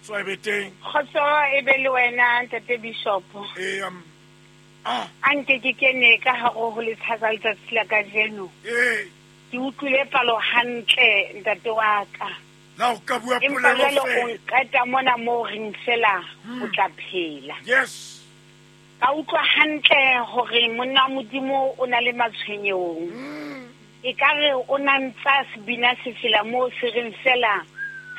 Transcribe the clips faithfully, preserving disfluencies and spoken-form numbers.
Kgotso e be teng. Kgotso e be le wena ntate Bishop. Eh um ah a nke ke kene ka hare ho letsatsi letsatsi la kajeno. Eh ke utlwile palo hantle ntate wa ka. Na o ka bua polelo fe? Empa o nqeta mona mo reng fela o tla phela. Yes. Ka utlwa hantle hore monna Modimo o na le matshwenyehong. E ka re o na ntsa sebina se fela mo se reng fela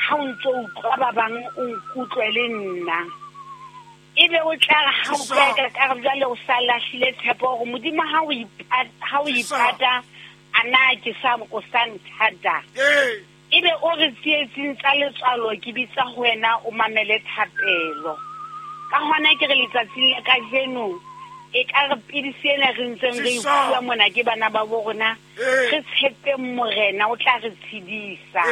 ha o ntso utlwa ba bang o nkutlwe le nna. Ebe o tla re ha o ka ka re jwale o sa lahlile tshepo hore Modimo ha o ipata ha o ipata ana ke sa o sa nthata. Eh ebe o re tsietsing tsa letswalo ke bitsa ho wena o mamele thapelo. Ka hona ke re letsatsing la kajeno e ka re pidisi ena re ntseng re bua mona ke bana ba bo rona re tshepe Morena o tla re tshedisa.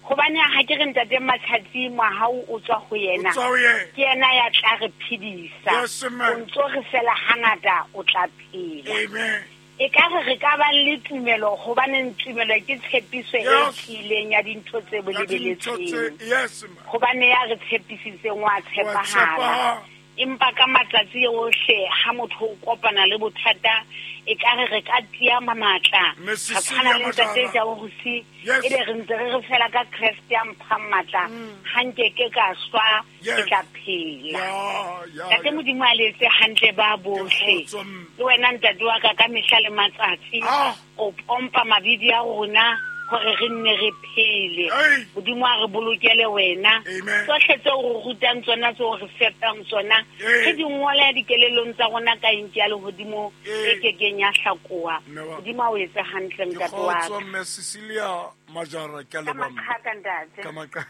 Hobane ha ke re ntate Matjhatsi mohau o tswa ho yena ke yena ya tla re phedisa. O ntso re fela hangata o tla phela. Amen. E ka re re ka ba le tumelo hobane tumelo ke tshepiso e tiileng ya dintho tse bolebeletsweng. Hobane ya re tshepisitseng wa tshepahala. Empa ka matsatsi ohle ha motho o kopana le bothata e ka re re ka tia matla. Ra tshwana le ntate Jabusi e be re ntse re re fela ka Kreste ya mphang matla ha nke ke ka shwa ke tla phela. Ntate Modimo a le etse hantle ba bohle. Le wena ntate wa ka ka mehla le matsatsi o pompa mabidi a rona hore re nne re phele. Modimo a re bolokele wena. Tsohle tseo re rutang tsona tseo re fepang tsona re di ngole dikelelong tsa rona ka eng ya lehodimo e kekeng ya hlakoha. Modimo a o etse hantle ntate wa ka. Kgotso Mme Cecilia Majara ke a leboha. Ka ntate. Ka maka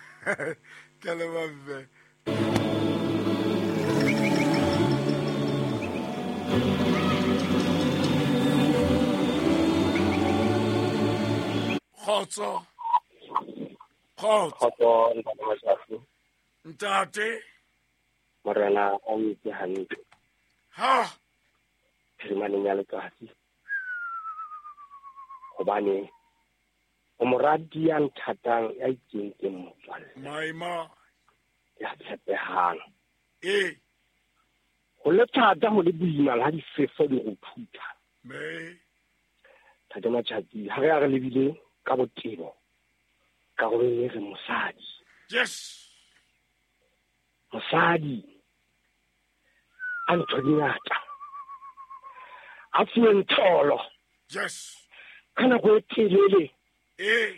ke a leboha mme. Kgotso. Kgotso. Kgotso ntate Matjhatsi. Ntate. Morena a o etse hantle. Ha. Phirimaneng ya letsatsi. Hobane o moradi ya nthatang ya ikentseng motswalle. Maima. Ya tshepehang. Eh. Ho le thata ho le boima ha difefo di go phutha. Me. Ntate Matjhatsi ha re a re lebile ka botebo karolong e re mosadi. Yes. Mosadi a ntho di ngata. A fuweng tholo. Yes. Ka nako e telele. Eh.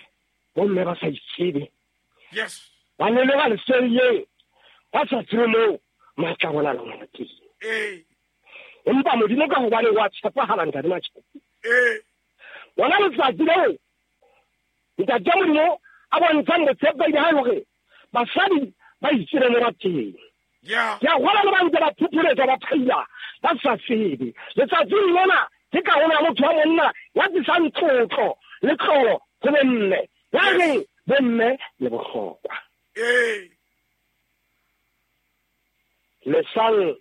Bomme ba sa itsebe. Yes. Ba ne le ba lesedileng ba sa tsebe moo matla a bona le ngwana teng. Eh. Empa Modimo ka hobane wa tshepahala ntate Matjhatsi. Eh. Bona letsatsi leo ntate Modimo a bontshang botshepehi ba hae hore basadi ba itsebe mo ba teng. Yeah. Ke a gola le ba ntse ba phuphuletsa ba phaila ba sa tsebe. Letsatsing lena ke karolo ya motho wa monna ya tlisang tlotlo le tlolo ho bomme. Ya reng bomme le bohlokwa. Eh. Lesang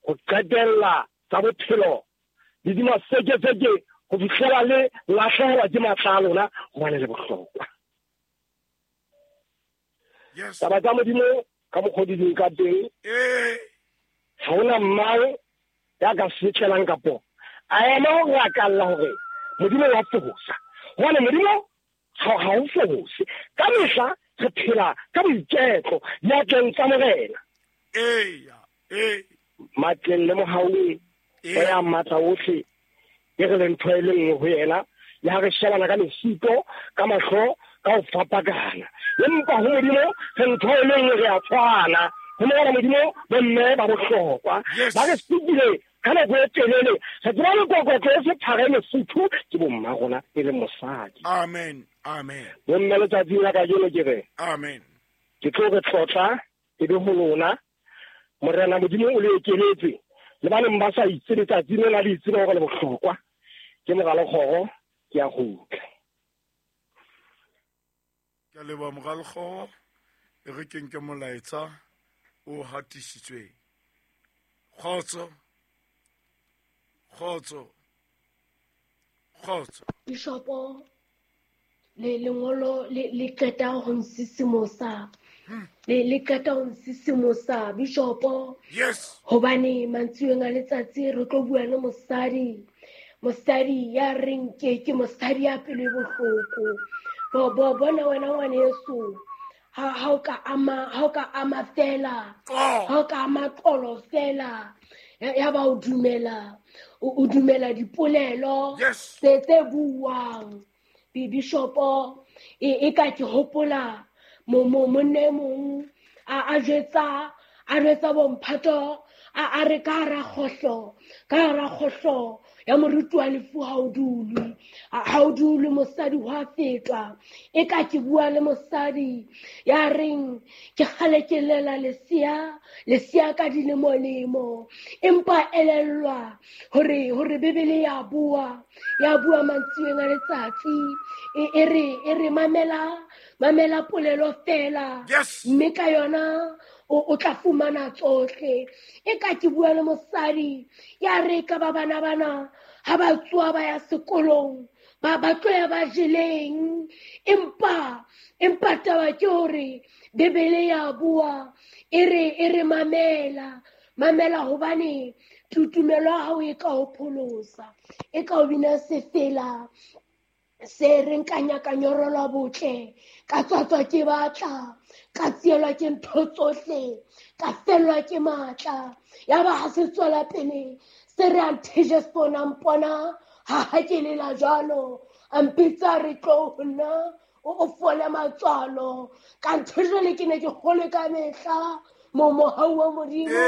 ho qetella tsa bophelo le dimasekeseke ho fihlela le lahlehelwa ke matla a lona hobane le bohlokwa. Yes. Taba tsa Modimo ka mokgwa di leng ka teng. Eh. Ha hona mang ya ka setlelang kapo a ema ho rakalla hore Modimo wa fosa. Hobane Modimo ha ha o fose. Ka mehla re phela ka boiketlo diatleng tsa Morena. Eh. Eh. Matleng le mohaung o ya matla ohle e re le ntho e le nngwe ho yena le ha re shebana ka lesito ka mahlo ka ho fapakana. Empa ho Modimo re ntho e le nngwe re a tshwana. Ho Morena Modimo bomme ba bohlokwa. Ba re supile ka nako e telele re tseba lekokotlo e sephara e mofuthu ke bomma rona e le mosadi. Amen. Amen. Bomme letsatsing la kajeno ke re. Amen. Ke tlo re tlotla e be ho lona. Morena Modimo o le ekeletse le ba neng ba sa itse letsatsi lena le itse hore le bohlokwa. Ke Moralekgoro ke a kgutla. Ke a leboha Moralekgoro e re ke nke molaetsa o hatisitsweng. Kgotso. Kgotso. Kgotso. Bishopo le lengolo le le qeta ho nsisimosa Le le qeta ho nsisimosa bishopo. Yes. Hobane mantsiweng a letsatsi re tlo bua le mosadi. Mosadi ya reng ke ke mosadi ya pelo e bohloko. Bo bo bona wena ngwaneso. Ha ha o ka ama ha o ka ama fela. Ha o ka ama qolo fela. Ya ba o dumela o dumela dipolelo tse tse buang. Bishopo e ka ke hopola mo mo monne mong a a jwetsa a jwetsa bomphato a a re ka ra kgohlo ka ra kgohlo ya moruti wa lefu ha o dulwe ha o dulwe mosadi wa fetwa e ka ke bua le mosadi ya reng ke kgale ke lela lesia lesia ka dilemolemo empa elellwa hore hore Bibele ya bua ya bua mantsiweng a letsatsi e re e re mamela mamela polelo fela mme ka yona o tla fumana tsohle e ka ke bua le mosadi ya re ka ba bana bana ha ba tswa ba ya sekolong ba ba tloya ba jeleng empa empa taba ke hore Bibele ya bua e re e re mamela mamela hobane tutumelo ya hao e ka ho pholosa e ka o bina sefela se re nkanya ka nyorelwa botle ka tswatswa ke batla ka tsielwa ke ntho tsohle ka fellwa ke matla ya ba ha se tswela pele se re anthe Jesu na mpona ha ha ke lela jwalo a mpitsa re tlo ho nna o fole matswalo ka ntho jwale ke ne ke kgolwe ka mehla mo mohau wa Modimo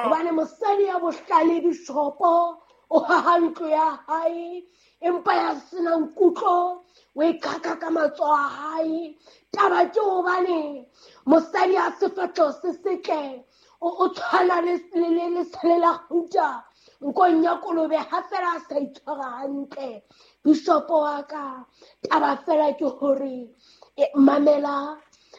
hobane mosadi ya bohlale bishopo o haha ntlo ya hae empa ya senang kutlo o e kaka ka matsoho a hae taba ke hobane mosadi ya sefahleho se setle o tshwana le lesale la kgauta nkong ya kolobe ha fela a sa itshwara hantle bishopo wa ka taba fela ke hore mamela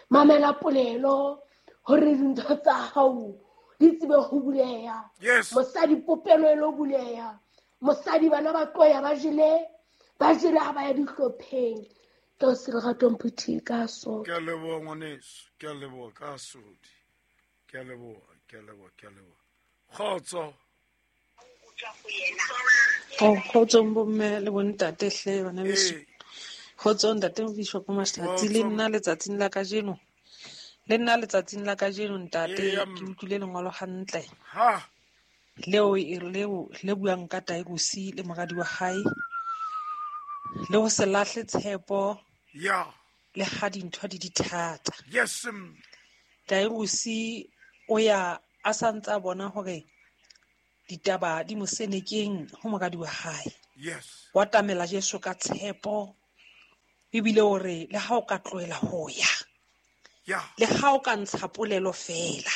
mamela polelo hore dintho tsa hao di tsebe ho buleha mosadi popelo e lo buleha mosadi bana ba tloya ba jele ba jele ha ba ya dihlopheng tlo se lerato mphuthi ka so ke a leboha ngwaneso ke a leboha ka sodi ke a leboha ke a leboha ke a leboha kgotso oh kgotso bomme le bontate hle bana beso kgotso ntate Bishop Mahlatsi le nna letsatsing la kajeno le nna letsatsing la kajeno ntate ke utlwile lengolo hantle ha leo leo le buang ka Tairusi le moradi wa hae le ho se lahle tshepo ya le ha dintho di dithata yes Tairusi o ya a santsa bona hore ditaba di mosenekeng ho moradi wa hae yes wa tamela Jesu ka tshepo ebile hore le ha o ka tlohela ho ya ya le ha o ka ntsha polelo fela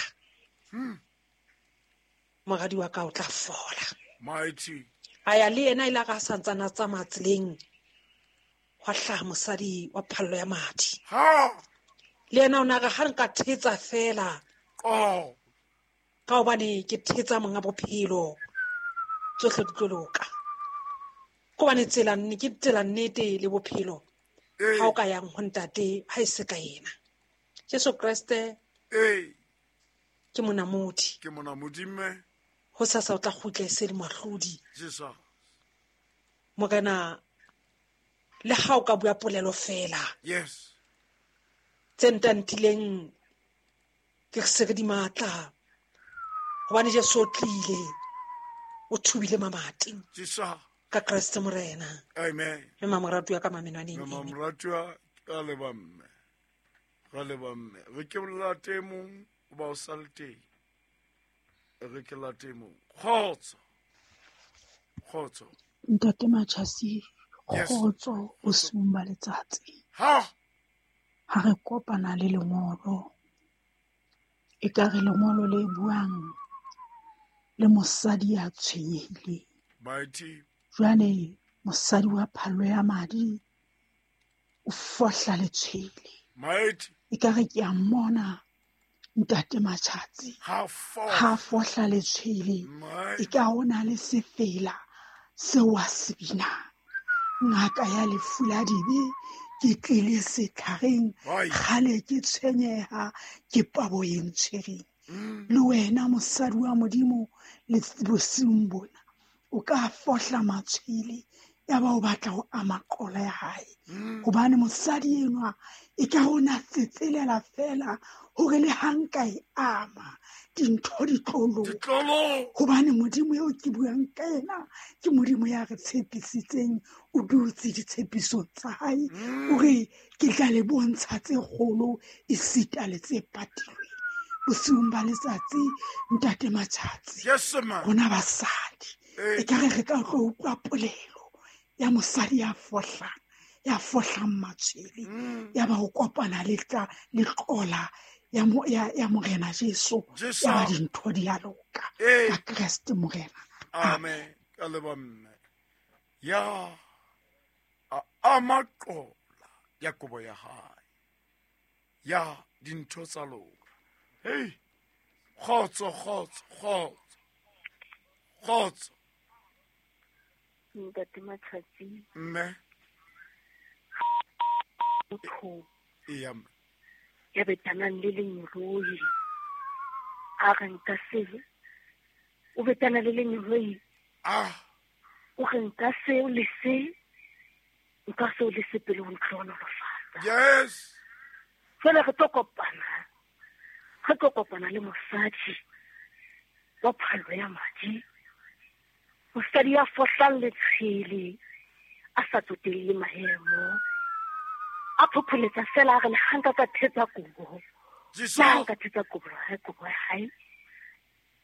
hmm moradi wa ka o tla fola mighty a ya le yena ile ka santsana tsamaya tseleng hwa hlaha mosadi wa phallo ya madi ha le yena o na re ha nka thetsa fela oh ka hobane ke thetsa monga bophelo tsohle di tlo loka ko bane tsela nne ke tsela nnete le bophelo ha o ka yang ho ntate ha e se ka yena Jesu Kreste eh ke monamodi ke monamodi mme ho sasa o tla kgutla e se le moahlodi Jesu morena le ha o ka bua polelo fela yes tse ntantileng ke se re di matla hobane Jesu o tlile o thubile mamati Jesu ka Kreste morena amen mme mamoratu ya ka mamenwaneng mme mamoratu ka le ba mme ra le ba mme re ke late mong o ba o sa le teng re ke late mong kgotso kgotso ntate Machasi kgotso o sumba letsatsi ha ha re kopana le lengolo e ka re lengolo le buang le mosadi ya tshwenyehileng mighty jwale mosadi wa phallo ya madi o fohla letshwele mighty e ka re ke a mmona ntate Machasi ha ha fohla letshwele e ka ona le sefela seo a se binang ngaka ya lefu la dibe Ke tlile setlhareng kgale ke tshwenyeha ke pabo e ntshwereng. Le wena mosadi wa Modimo le bosiung bona o ka fohla matshwele ya ba o batla ho ama qola ya hae. Hobane mosadi enwa e ka rona tsetselela fela hore le ha nka e ama dintho di tlo loka. Hobane Modimo eo ke buang ka yena ke Modimo ya re tshepisitseng, o dutse ditshepisong tsa hae, o re ke tla le bontsha tse kgolo esita le tse patilweng. Bosiung ba letsatsi ntate Matjhatsi, rona basadi e ka re re ka tlo utlwa polelo ya mosadi ya fohlang ya fohlang matshwele ya ba ho kopana le tla le qola ya ya ya Morena Jesu ya ba dintho di a loka ka Kreste Morena. Amen. Ka leba mme ya a ama qola ya kobo ya hae ya dintho tsa loka. Hey, kgotso kgotso kgotso kgotso Ntate Matjhatsi. Mme motho eya mme ya betanang le lengeloi a re nka se o betana le lengeloi ah o re nka seo le se nka seo le se pele ho ntlhohonolofatsa. Yes. Jwale re tlo kopana re tlo kopana le mosadi wa phallo ya madi, mosadi ya fohlang letshwele a sa tsotelle maemo, a phopholetsa fela a re le ha nka ka thetsa kobo, le ha nka thetsa kobo ya hae kobo ya hae.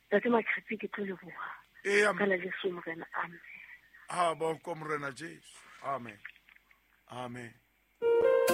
Ntate Matjhatsi ke tlo leboha ka la Jesu Morena. Amen. Ha ba ko Morena Jesu. Amen. Amen.